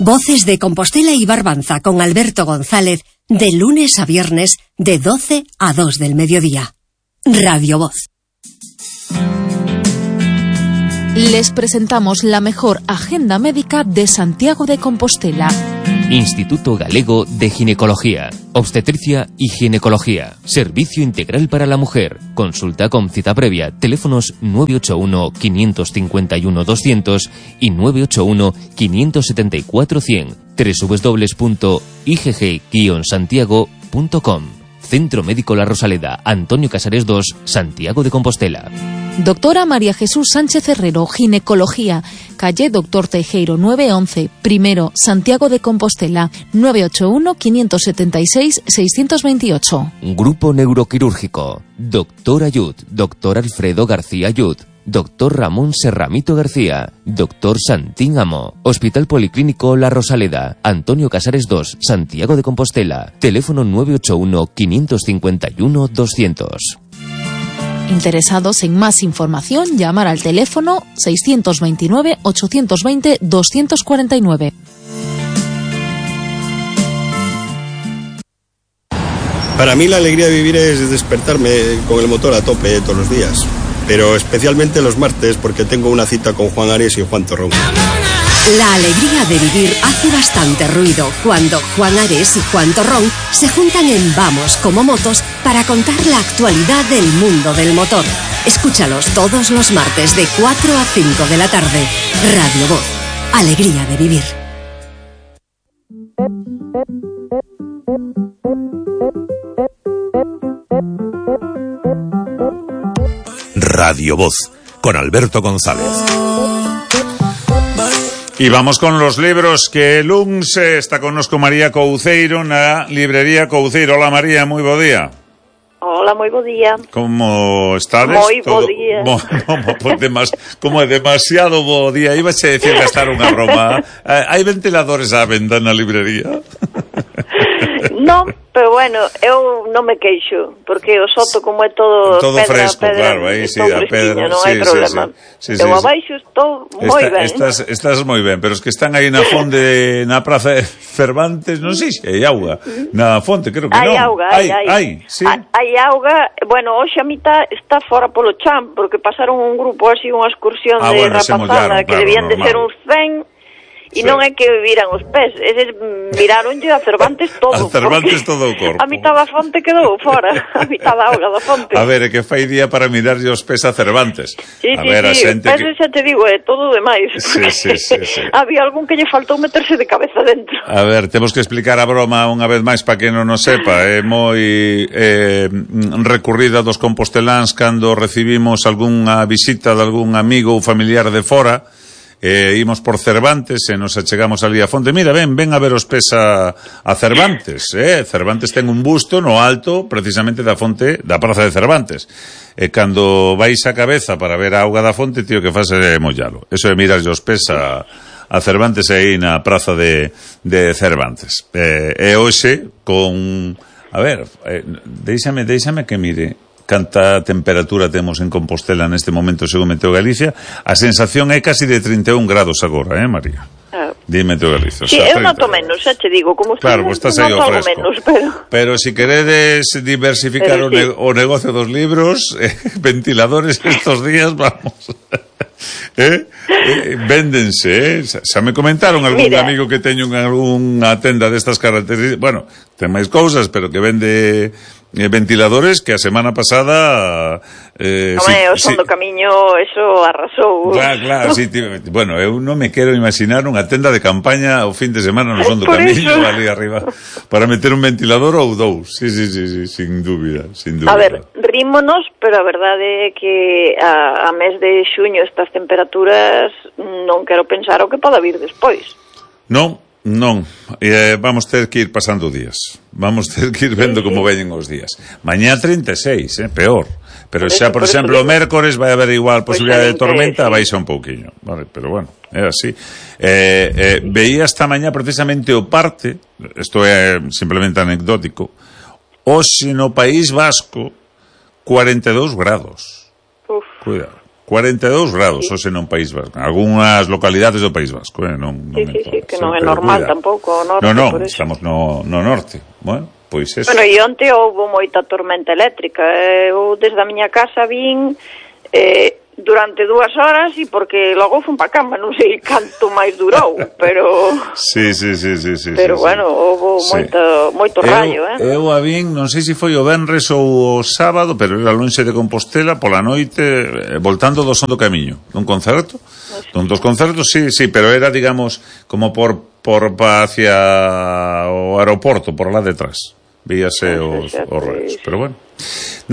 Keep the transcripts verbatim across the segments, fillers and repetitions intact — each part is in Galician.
Voces de Compostela y Barbanza con Alberto González, de lunes a viernes, de doce a dos del mediodía. Radio Voz. Les presentamos la mejor agenda médica de Santiago de Compostela. Instituto Galego de Ginecología, Obstetricia y Ginecología. Servicio integral para la mujer. Consulta con cita previa. Teléfonos nueve ocho uno, cinco cinco uno, doscientos y nueve ocho uno, cinco siete cuatro, cien. doble u doble u doble u punto i g g guion santiago punto com. Centro Médico La Rosaleda, Antonio Casares dos, Santiago de Compostela. Doctora María Jesús Sánchez Herrero, Ginecología, calle Doctor Teijeiro nueve once, primero, Santiago de Compostela, nueve ocho uno, cinco siete seis, seis dos ocho. Grupo Neuroquirúrgico, Doctor Ayud, Doctor Alfredo García Ayud, Doctor Ramón Serramito García, Doctor Santín Amo, Hospital Policlínico La Rosaleda, Antonio Casares dos, Santiago de Compostela, teléfono nueve ocho uno, cinco cinco uno, doscientos. Interesados en más información, llamar al teléfono seis dos nueve, ocho dos cero, dos cuatro nueve. Para mí la alegría de vivir es despertarme con el motor a tope todos los días, pero especialmente los martes porque tengo una cita con Juan Ares y Juan Torrón. La alegría de vivir hace bastante ruido cuando Juan Ares y Juan Torrón se juntan en Vamos como Motos para contar la actualidad del mundo del motor. Escúchalos todos los martes de cuatro a cinco de la tarde. Radio Voz. Alegría de vivir. Radio Voz, con Alberto González. Y vamos con los libros que luns está connosco María Couceiro na librería Couceiro. Hola María, moi bo día. Hola, moi bo día. Como estades? Moi bo día. Mo, mo, pues demas, como é demasiado bo día. Iba a decir gastar unha broma. Hai ventiladores á venda na librería? Non, pero bueno, eu non me queixo, porque o soto como é todo, todo pedra, fresco, pedra, claro, aí sí, a pedra, non sí, hai problema. Sí, sí, eu sí, abaixo estou moi Está, ben. Estás, estás moi ben, pero es que están aí na fonte, na praza de Cervantes, non sei se hai auga, na fonte, creo que non. Hai auga, hai, hai. hai, sí. Hai auga, bueno, hoxe a mitad está fora polo chan, porque pasaron un grupo así, unha excursión ah, de bueno, rapazada, que claro, debían normal. de ser uns cen. E sí. Non é que viran os pés, eses miraronlle a Cervantes todo. A Cervantes todo o corpo. A mitad da fonte quedou fora, a mitad da auga da fonte. A ver, é que fai día para mirarlle os pés a Cervantes. Sí, a sí, ver, sí, a xente pés que... xa te digo, é todo demais. Sí, sí, sí, sí. Había algún que lle faltou meterse de cabeza dentro. A ver, temos que explicar a broma unha vez máis para que non o sepa. É moi eh, recurrida dos composteláns cando recibimos algunha visita de algún amigo ou familiar de fora. Eh, imos por Cervantes e nos achegamos ali a fonte. Mira, ven, ven a ver os pés a, a Cervantes, eh? Cervantes ten un busto no alto precisamente da fonte da praza de Cervantes. E cando vais a cabeza para ver a auga da fonte, tío, que faz é mollalo. Eso é mirar os pés a, a Cervantes aí na praza de, de Cervantes. Eh, e hoxe con... A ver, eh, deixame, deixame que mire canta temperatura temos en Compostela neste momento según Meteo Galicia. A sensación é casi de trinta e un grados agora, eh, María? Ah. Dime Meteo Galicia. Sí, eu noto menos, xa te digo, como claro, pues estás aí ao fresco. Menos, pero... pero si queredes diversificar pero, o, ne sí. o negocio dos libros, eh, ventiladores estos días, vamos... eh? eh, véndense, eh? Xa me comentaron algún Mira. amigo que teño unha tenda destas características, bueno, ten máis cousas, pero que vende eh, ventiladores que a semana pasada eh, Home, si, o son si, do camiño eso arrasou. Claro, claro, si, tío, bueno, eu non me quero imaginar unha tenda de campaña o fin de semana no son do camiño eso. Ali arriba para meter un ventilador ou dous. Sí, sí, sí, sí, sin dúbida, sin dúbida. A ver, rímonos, pero a verdade é que a, a mes de xuño estas temperaturas non quero pensar o que poda vir despois. Non, non, eh, vamos ter que ir pasando días. Vamos ter que ir vendo sí, como veñen os días. Mañá trinta e seis, eh, peor. Pero por xa, eso, por, por exemplo, o mércores vai haber igual posibilidade pues de tormenta, sí. Baixa un pouquiño, vale, pero bueno, é así. Eh, eh, veía esta mañá precisamente o parte, isto é simplemente anecdótico, hoxe no País Vasco cuarenta e dous grados. Uf. Cuidado. cuarenta e dous grados, sí. Hoxe non País Vasco. Algúnas localidades do País Vasco, eh? non, non sí, sí, sí, que non é normal cuidado. Tampouco o norte. Non, non, estamos no, no norte. Bueno, pois eso. Bueno, e onte houve moita tormenta eléctrica. Eu desde a miña casa vin eh, durante dúas horas e porque logo fun pa cama, non sei canto máis durou, pero sí, sí, sí, sí, sí, pero sí, bueno, houve sí. moito, moito rayo, eu, eh? Eu a vin, non sei se foi o venres ou o sábado, pero era lonxe de Compostela pola noite, eh, voltando do Son do Camiño, dun concerto, dun dos concertos, sí, sí, pero era, digamos, como por, por hacia o aeroporto, por lá detrás. Víase os, os rayos, pero bueno.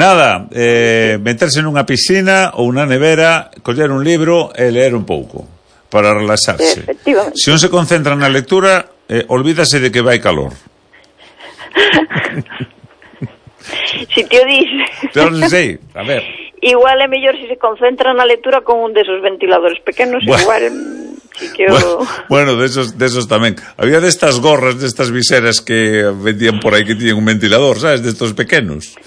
Nada, eh, meterse nunha piscina ou unha nevera, coller un libro e leer un pouco para relaxarse. Se un se concentra na lectura, eh, olvídase de que vai calor. Si te o dices. Pero non sei, a ver. Igual é mellor se se concentra na lectura con un desos ventiladores pequenos, bueno. Igual sí que o... Bueno, bueno de, esos, de esos tamén. Había destas gorras, destas viseras que vendían por aí que tiñen un ventilador, sabes, destos pequenos.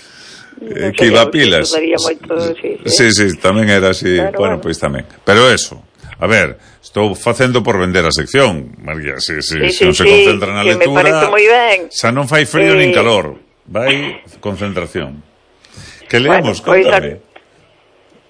Eh, que iba a pilas. Moito, sí, sí. sí, sí, tamén era así. Claro, bueno, pois pues, tamén. Pero eso, a ver, estou facendo por vender a sección, María, si, si, sí, si non sí, se concentra na lectura, me parece moi ben. Xa non fai frío eh... nin calor, vai concentración. Que leamos, bueno, contame. Pues,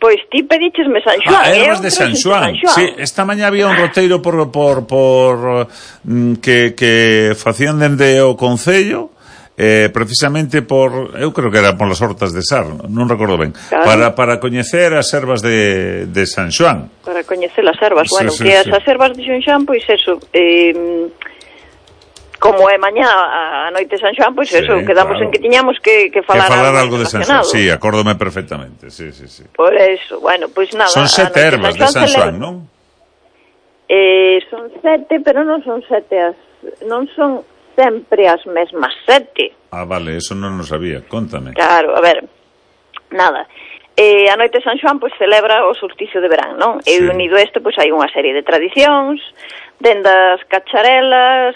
Pois ti pedichesme San Xoán. Ah, ervas de San Xoán. Sí, esta mañá había un roteiro por por por mm, que que facían dende o concello, eh, precisamente por, eu creo que era por las hortas de Sar, non recordo ben, claro. para para coñecer as ervas de de San Xoán. Para coñecer as ervas, sí, bueno, sí, que sí. As ervas de San Xoán, pois eso, eh como é mañá a noite de San Xoán, pois sí, eso, quedamos claro. En que tiñamos que, que falar, que falar algo, algo de San Xoán. Sí, acórdome perfectamente, sí, sí, sí. Por eso, bueno, pois nada. Son sete ervas de San Xoán, non? Eh, son sete, pero non son sete as, non son sempre as mesmas sete. Ah, vale, eso non lo sabía, contame. Claro, a ver, nada. Eh, a noite de San Xoán, pois, celebra o solsticio de verán, non? Sí. E unido a isto, pois, hai unha serie de tradicións, dende as cacharelas,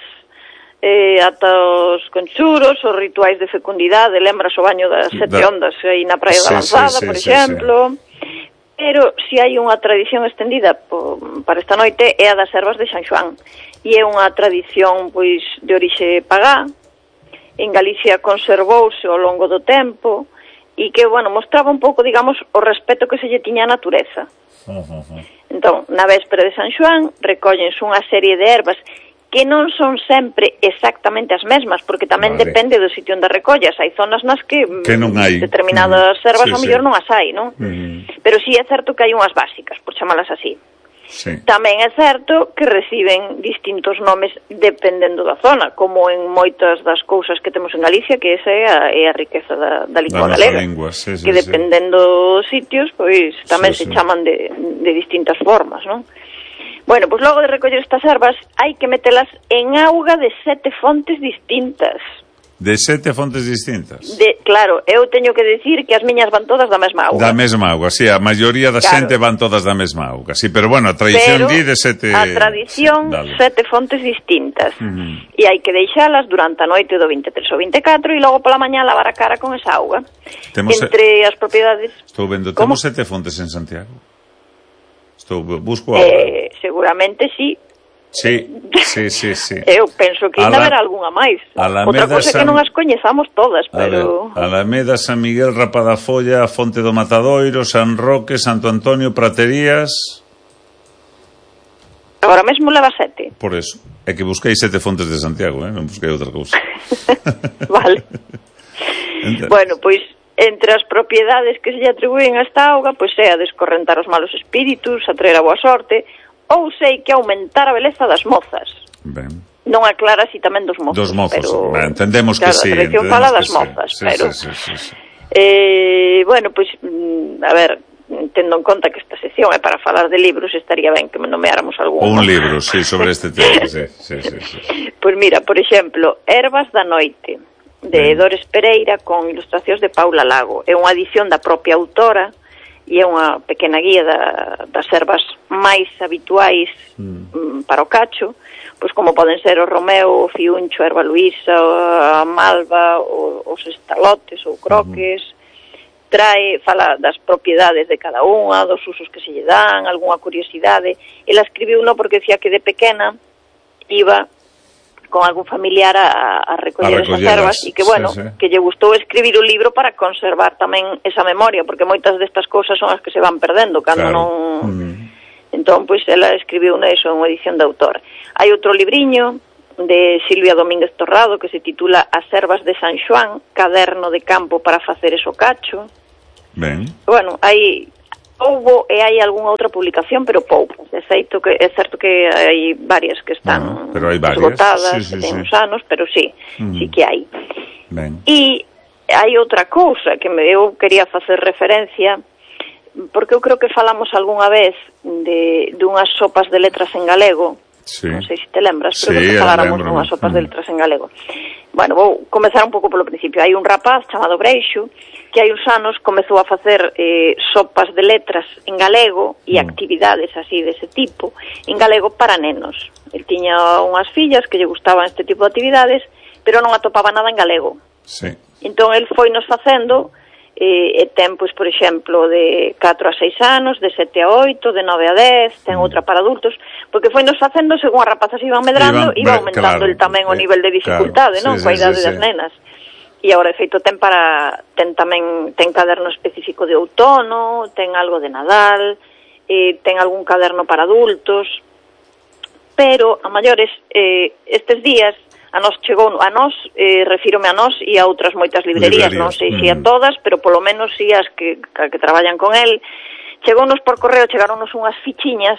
eh, ata os conchuros, os rituais de fecundidade, lembras o baño das sete da... ondas aí na Praia sí, da Lanzada, sí, sí, por exemplo. Sí, sí. Pero si hai unha tradición extendida po, para esta noite é a das ervas de San Xoán. E é unha tradición pois de orixe pagá. En Galicia conservouse ao longo do tempo e que, bueno, mostraba un pouco, digamos, o respeto que se lle tiña a natureza. Uh -huh. Entón, na véspera de San Xoán recóllense unha serie de ervas que non son sempre exactamente as mesmas, porque tamén vale. Depende do sitio onde recollas. Hai zonas nas que, que non hai determinadas mm. ervas sí, ao mellor sí. Non as hai, non? Mm. Pero sí é certo que hai unhas básicas, por chamalas así. Sí. Tamén é certo que reciben distintos nomes dependendo da zona, como en moitas das cousas que temos en Galicia, que esa é a, é a riqueza da, da lingua galega, lingua, sí, sí, que dependendo dos sitios, pois tamén sí, se sí. chaman de, de distintas formas, non? Bueno, pois logo de recoller estas ervas hai que metelas en auga de sete fontes distintas. De sete fontes distintas? De, claro, eu teño que decir que as miñas van todas da mesma auga. Da mesma auga, sí, a maioría da claro. Xente van todas da mesma auga, sí, pero bueno, a tradición di de sete... a tradición, sí, sete fontes distintas. Uh -huh. E hai que deixalas durante a noite do vinte e tres ou vinte e catro e logo pola mañá lavar a cara con esa auga. Temos Entre se... as propiedades... Estou vendo, temos sete fontes en Santiago? Estou, busco agora. Eh, seguramente sí. Sí, sí, sí, sí. Eu penso que ainda haberá algunha máis. Outra cosa é que non as coñezamos todas, pero... A ver, Alameda, San Miguel, Rapadafolla, Fonte do Matadoiro, San Roque, Santo Antonio, Praterías... Agora mesmo leva sete. Por eso. É que busquei sete fontes de Santiago, eh? Non busquei outra cousa. Vale. Entonces... Bueno, pois... Entre as propiedades que se lle atribúen a esta auga, pois é a descorrentar os malos espíritus, atraer a boa sorte, ou sei que aumentar a beleza das mozas. Ben. Non aclara si tamén dos mozos. Dos mozos, pero, ben, entendemos claro, que sí. A tradición fala das mozas, sí, pero... Sí, sí, sí, sí. Eh, bueno, pois, a ver, tendo en conta que esta sección é para falar de libros, estaría ben que me nomeáramos algún. Un libro, sí, sobre este tema, sí, sí, sí, sí. Pois mira, por exemplo, Ervas da Noite, de Dores Pereira, con ilustracións de Paula Lago. É unha edición da propia autora e é unha pequena guía da, das ervas máis habituais mm. para o cacho, pois como poden ser o romeo, o fiuncho, a erva luísa, a malva, o, os estalotes ou croques. Mm. trae, fala das propiedades de cada unha, dos usos que se lle dan, algunha curiosidade. Ela escribiu uno porque decía que de pequena iba con algún familiar a, a recoller esas ervas e que, bueno, sí, sí. que lle gustou escribir un libro para conservar tamén esa memoria, porque moitas destas cousas son as que se van perdendo cando claro. non... Mm. Entón, pois, ela escribiu eso en unha edición de autor. Hai outro libriño de Silvia Domínguez Torrado que se titula As ervas de San Xoán, caderno de campo para facer eso cacho. Ben. Bueno, hai houbo e hai algunha outra publicación, pero pouco. É certo que é certo que hai varias que están bueno, pero hai esgotadas, sí, sí, que ten sí. uns anos, pero sí, mm. sí que hai. Ben. E hai outra cousa que eu quería facer referencia, porque eu creo que falamos algunha vez de dunhas sopas de letras en galego. Sí. Non sei se te lembras, pero sí, que faláramos dunhas sopas mm. de letras en galego. Bueno, vou comezar un pouco polo principio. Hai un rapaz chamado Breixo que hai uns anos comezou a facer eh, sopas de letras en galego e mm. actividades así dese tipo en galego para nenos. El tiña unhas fillas que lle gustaban este tipo de actividades, pero non atopaba nada en galego. Sí. Entón, el foi nos facendo e, e ten, pois, por exemplo, de catro a seis anos, de sete a oito, de nove a dez, ten mm. outra para adultos, porque foi nos facendo, según as rapazas iban medrando, iban, iba aumentando claro, el tamén o nivel de dificultade, claro, non? Sí, coa idade sí, das sí. nenas. E agora, de feito, ten para ten tamén ten caderno específico de outono, ten algo de Nadal, eh, ten algún caderno para adultos, pero a maiores eh, estes días a nos chegou, a nos, eh, refírome a nos e a outras moitas librerías, librerías. Non sei mm. se a todas, pero polo menos si as que, que traballan con el, chegounos por correo, chegaronnos unhas fichiñas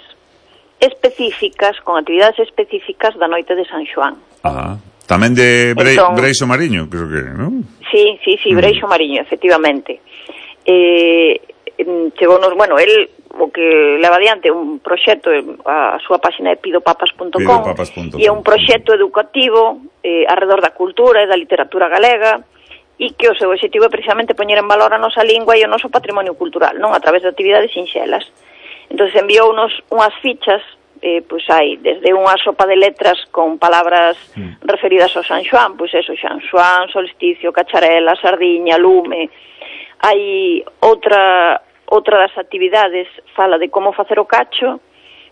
específicas, con actividades específicas da noite de San Xoán. Ah, tamén de Bre entón, Breixo Mariño, creo que, non? Sí, sí, sí, Breixo mm. Mariño, efectivamente. Eh, chegounos, bueno, el o que leva adiante un proxecto, a súa páxina é pidopapas punto com, e é un proxecto educativo eh, alrededor da cultura e da literatura galega, e que o seu objetivo é precisamente poñer en valor a nosa lingua e o noso patrimonio cultural, non a través de actividades sinxelas. Entón enviounos unhas fichas, eh, pois hai desde unha sopa de letras con palabras mm. referidas ao San Xoán, pois eso, San Xoán, solsticio, cacharela, sardiña, lume. Hai outra outra das actividades, fala de como facer o cacho,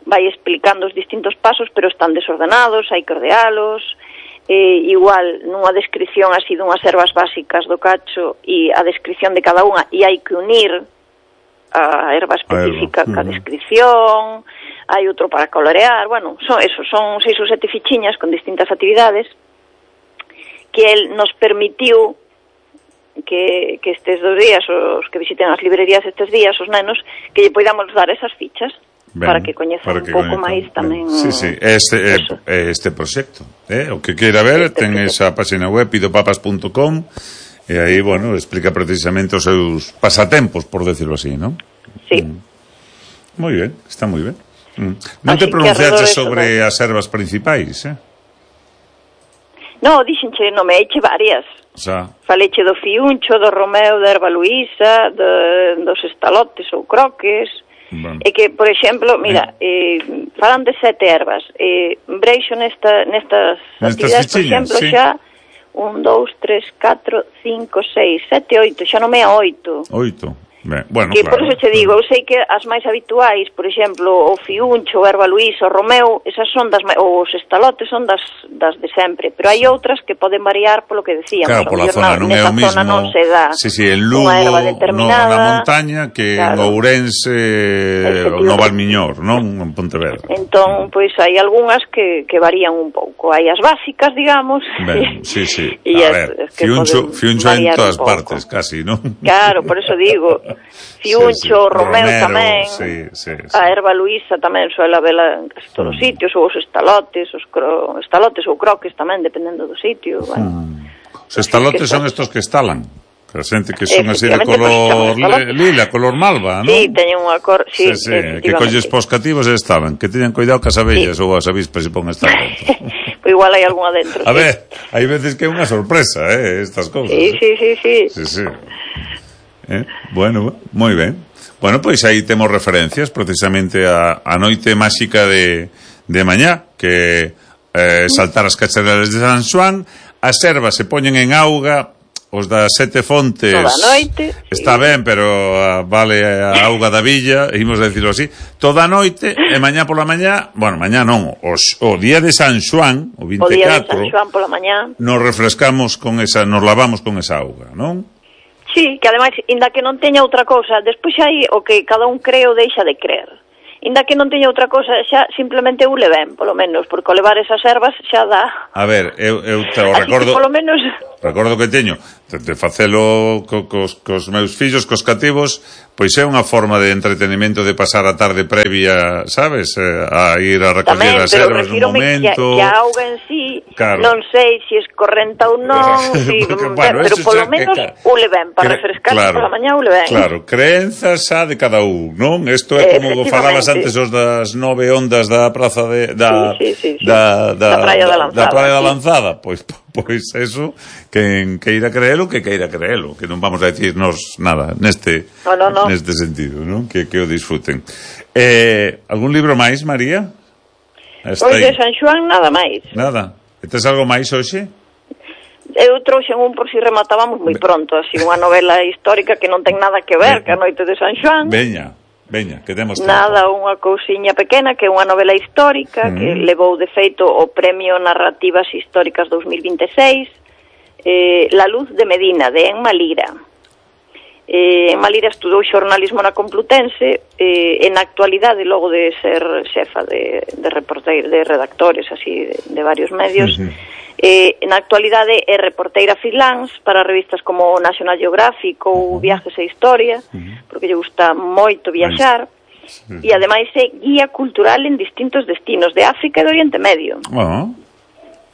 vai explicando os distintos pasos, pero están desordenados, hai que ordealos, eh, igual nunha descripción así dunhas ervas básicas do cacho e a descripción de cada unha, e hai que unir a erva específica ca uh-huh. descripción, hai outro para colorear, bueno, son eso, son seis ou sete fichiñas con distintas actividades que el nos permitiu que, que estes dos días, os que visiten as librerías estes días, os nenos, que lle podamos dar esas fichas ben, para que coñezan un pouco máis tamén. Sí, sí, este, eh, este proxecto, eh, o que queira ver, este ten proxecto. Esa página web pidopapas punto com e aí, bueno, explica precisamente os seus pasatempos, por decirlo así, ¿no? Sí. Mm. Moi ben, está moi ben. Mm. Non te pronunciaste sobre as ervas principais, eh? No, dixenche, non me eiche varias. Xa. Faleche do fiuncho, do romeo, da erva luísa, de, dos estalotes ou croques. Bueno. E que, por exemplo, mira, eh, falan de sete ervas. Eh, Breixo nesta, nestas, nestas actividades, por exemplo, sí. xa un, dous, tres, catro, cinco, seis, sete, oito, xa non me a oito. Oito. Ben, bueno, que claro. Por eso che digo, eu sei que as máis habituais, por exemplo, o fiuncho, o erva luísa, o romeo, esas son das, os estalotes son das, das de sempre, pero hai outras que poden variar polo que decíamos. Claro, pola zona, non é o mismo. Non se dá sí, sí, en Lugo, no, na montaña, que claro. En Ourense, no Valmiñor, non? En Pontevedra. Entón, pois pues, hai algunhas que, que varían un pouco. Hai as básicas, digamos. Ben, sí, sí. A ver, fiuncho, fiuncho en todas partes, casi, non? Claro, por eso digo... Fiuncho, sí, sí. Romeo, Romero, tamén, sí, sí, sí. A erva luísa tamén suele vela en casi todos os mm. sitios, ou os estalotes, os cro... estalotes ou croques tamén, dependendo do sitio. Bueno. Mm. Os estalotes son estos que estalan, que a xente que son así de color lila, color malva, non? Sí, teñen unha cor... Sí, sí, sí. Que colles pos cativos e estaban, que teñan cuidado cas abellas sí. Ou as avispas se pon estar dentro. Pois igual hai algunha dentro. A sí. ver, hai veces que é unha sorpresa, eh, estas cousas. Sí, sí, sí, sí. Sí, sí. Eh, bueno, moi ben. Bueno, pois aí temos referencias precisamente a, a noite máxica de, de mañá, que eh, saltar as cacharelas de San Xoán, as ervas se poñen en auga, os das sete fontes toda a noite, está sí. ben, pero uh, vale a auga da villa, imos decirlo así, toda a noite e mañá pola mañá, bueno, mañá non, os, o día de San Xoán, o vinte e catro, o día de San Xoán pola mañá, nos refrescamos con esa, nos lavamos con esa auga, non? Sí, que ademais, inda que non teña outra cousa, despois hai o que cada un cree ou deixa de creer. Inda que non teña outra cousa, xa simplemente ule ben, polo menos, porque ao levar esas ervas xa dá. A ver, eu, eu te o Así recordo... que polo menos... Recordo que teño de, de facelo co, cos, cos meus fillos, cos cativos, pois é unha forma de entretenimento de pasar a tarde previa, sabes, eh, a ir a recoller as ervas no momento. Que, que a auga en sí, claro. Non sei se es correnta ou non, si, porque, bueno, pero polo menos que, ule ben, para cre, refrescarse claro, pola mañá ule ben. Claro, creencias xa de cada un, non? Isto é como falabas antes os das nove ondas da praza de da sí, sí, sí, sí. da, da, da Praia da Lanzada, da Praia da sí. Lanzada, pois pois eso, que queira creelo, que queira creelo, que non vamos a decirnos nada neste no, no, no. neste sentido, non? Que que o disfruten. Eh, algún libro máis, María? Pois de San Xoán nada máis. Nada. E tes algo máis hoxe? Eu trouxen un por si rematábamos moi pronto, así unha novela histórica que non ten nada que ver que a noite de San Xoán. Veña. Veña, que demos tempo. Nada, unha cousiña pequena que é unha novela histórica mm. que levou de feito o Premio Narrativas Históricas dos mil vinte e seis, eh, La luz de Medina, de Emma Lira. Eh, Emma Lira estudou xornalismo na Complutense eh, e na actualidade, logo de ser xefa de, de, reporteir, de redactores así de, de varios medios, uh-huh. eh, na actualidade é reporteira freelance para revistas como National Geographic ou Viajes e Historia, uh-huh. porque lle gusta moito viaxar, uh-huh. e ademais é guía cultural en distintos destinos de África e do Oriente Medio. Uh-huh.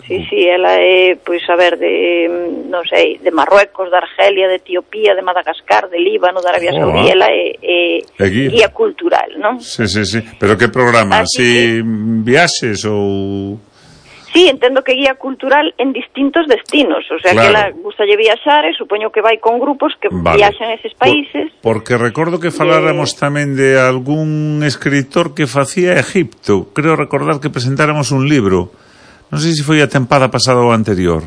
Sí, sí, ela é, pois, a ver, de, non sei, de Marruecos, de Argelia, de Etiopía, de Madagascar, de Líbano, de Arabia oh, Saudí, ela é, é, é guía. guía cultural, non? Sí, sí, sí, pero que programa? Así que... viaxes ou... Sí, entendo que guía cultural en distintos destinos, o sea, claro. que ela gustalle viaxar e supoño que vai con grupos que vale. viaxan a eses países. Por, porque recordo que faláramos de... tamén de algún escritor que facía Egipto, creo recordar que presentáramos un libro, non sei se foi a tempada pasada ou anterior,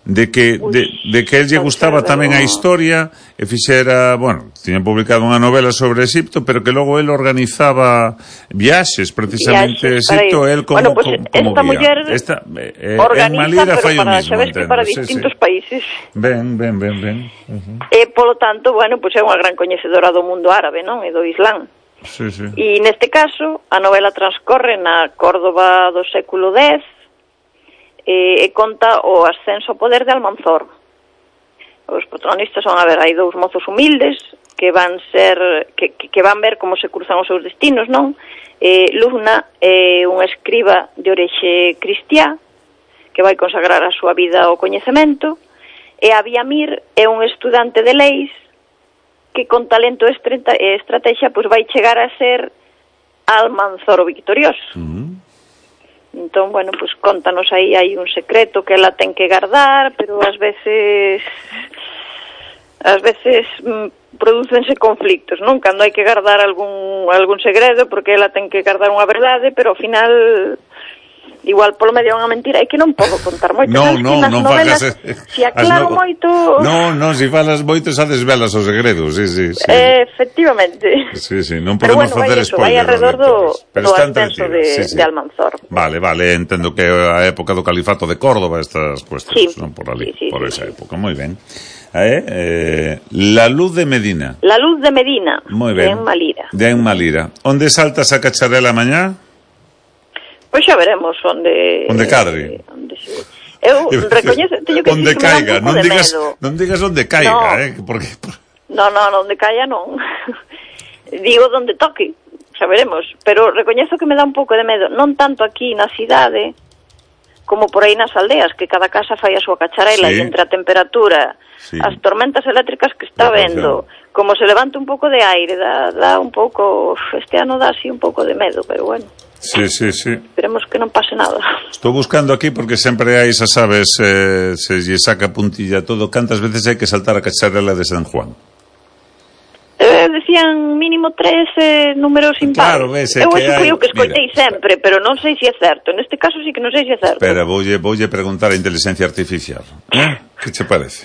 de que Ui, de, de que el lle gustaba tamén a historia e fixera, bueno, tiña publicado unha novela sobre Egipto, pero que logo el organizaba viaxes precisamente a Egipto, el como, bueno, pues, como, como esta guía. Muller esta eh, organiza, pero fai para, mismo, sabes que para distintos sí, sí. países. Ben, ben, ben, ben. Uh-huh. E, polo tanto, bueno, pues é unha gran coñecedora do mundo árabe, non? E do Islán. Sí, sí. E neste caso, a novela transcorre na Córdoba do século dez, e, e conta o ascenso ao poder de Almanzor. Os protagonistas son, a ver, hai dous mozos humildes que van ser que, que van ver como se cruzan os seus destinos, non? Eh, Lugna é un escriba de orixe cristiá que vai consagrar a súa vida ao coñecemento, e Abiamir é un estudante de leis que con talento e estrategia pois vai chegar a ser Almanzor o victorioso. Uh-huh. Entón, bueno, pues contanos aí, hai un secreto que ela ten que guardar, pero ás veces ás veces mm, prodúcense conflictos, non? Cando hai que guardar algún algún segredo, porque ela ten que guardar unha verdade, pero ao final igual polo medio unha mentira, é que non podo contar moito. Non, non, non novelas, fagas... Se aclaro no... moito... Non, non, se falas moito xa desvelas os segredos, sí, sí, sí. Eh, efectivamente. Sí, sí, non podemos bueno, facer spoiler. Vai alrededor do, do ascenso de, sí, sí. de Almanzor. Vale, vale, entendo que a época do califato de Córdoba, estas cuestións, sí. non por ali, sí, sí, por sí, esa sí. época, moi ben. Eh, eh, La luz de Medina. La luz de Medina, moi ben. de Emma Lira. De Emma Lira. Onde saltas a cacharela mañá? Pois xa veremos onde... Onde cadre. Onde se... Eu recoñezo, teño que onde dicir que caiga, me dá un pouco non de digas, medo. non digas onde caiga, no. eh, porque... No, no, onde caiga non. Digo onde toque, xa veremos, pero recoñezo que me dá un pouco de medo, non tanto aquí na cidade, como por aí nas aldeas, que cada casa fai a súa cacharela, sí. E entre a temperatura, sí. As tormentas eléctricas que está vendo, como se levanta un pouco de aire, dá, dá un pouco, este ano dá así un pouco de medo, pero bueno. Sí, sí, sí. Esperemos que non pase nada. Estou buscando aquí porque sempre hai, xa sabes, eh, se lle saca puntilla todo, cantas veces hai que saltar a cacharela de San Juan? Eh, decían mínimo tres eh, números impares. Claro, ves, eu que hai... Eu que escoitei Mira, sempre, pero non sei se é certo. Neste caso sí que non sei se é certo. Espera, voulle, voulle preguntar a inteligencia artificial. Eh? Que che parece?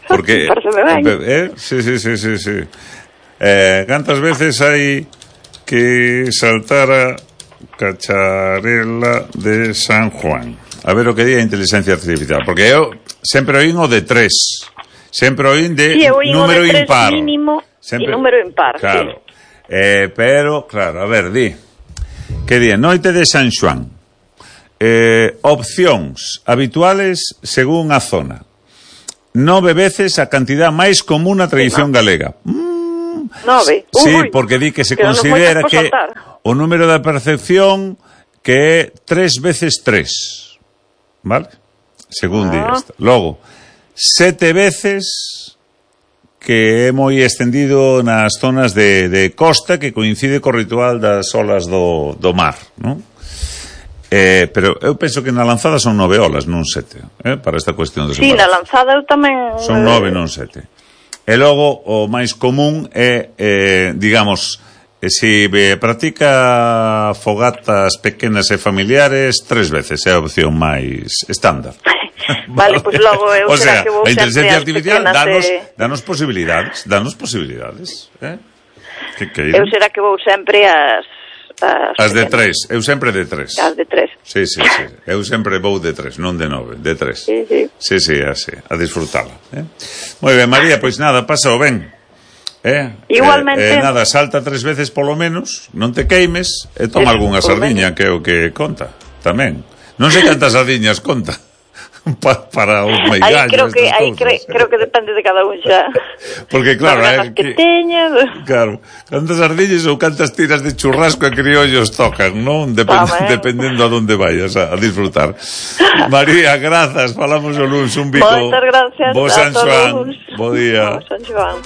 Porque, Pareceme ben. eh? Sí, sí, sí, sí, sí. Eh, cantas veces hai que saltar a cacharela de San Juan? A ver o que di a inteligencia artificial, porque eu sempre oín o de tres. Sempre oín de sí, oín número o de tres impar. Mínimo sempre... e número impar, claro. sí. Eh, pero, claro, a ver, di. Que di, noite de San Xuan. Eh, opcións habituales según a zona. Nove veces a cantidad máis común na tradición sí, galega. Mm, Nove? Sí, Ui, porque di que se que considera que o número da percepción que é tres veces tres. Vale? Según ah. di esta. Logo, sete veces que é moi extendido nas zonas de, de costa que coincide co ritual das olas do, do mar, non? Eh, pero eu penso que na lanzada son nove olas, non sete, eh, para esta cuestión de sí, na lanzada eu tamén... Son nove, non sete. E logo, o máis común é, eh, digamos, eh, se si practica fogatas pequenas e familiares, tres veces é a opción máis estándar. Vale, pois pues logo eu o sea, será que vou a inteligencia artificial danos, de... danos posibilidades, danos posibilidades, eh? Que que eu será que vou sempre as... As, as de tres, eu sempre de tres. As de tres. Sí, sí, sí. Eu sempre vou de tres, non de nove, de tres. Sí, sí. Sí, sí, así, a disfrutala. Eh? Moi ben, María, pois nada, pasa o ben. Eh? Igualmente. Eh, eh, nada, salta tres veces polo menos, non te queimes, e toma sí, algunha sardiña, que é o que conta, tamén. Non sei cantas sardiñas conta. Pa, para os meigallos, aí creo que aí cre, creo que depende de cada un xa. Porque claro, eh, que, que teña. Claro, cantas ardillas ou cantas tiras de churrasco e criollos tocan, non? Depend, Toma, eh. Dependendo a donde vayas a, a disfrutar. María, grazas, falamos o luns, un bico. Moitas gracias Bo San Xoán, bo día. Bo San Xoán.